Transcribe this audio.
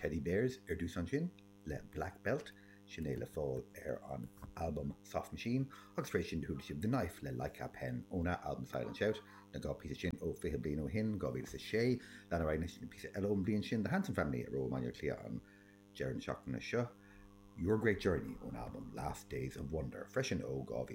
Teddy Bears ar dtús ansin le Black Belt, sin é le fáil ar an albam Soft Machine, agus tar éis sin do chuala sibh The Knife le Like a Pen óna albam Silent Shout, na 2 píosa sin ó 20 bliain ó shin, 2006. Lean ar aghaidh anois le píosa eile ón bhliain sin, The Hanson Family a raibh i mBaile Átha Cliath an deireadh na seachtaine seo, Your Great Journey ón albam Last Days of Wonder, freisin ó 2006.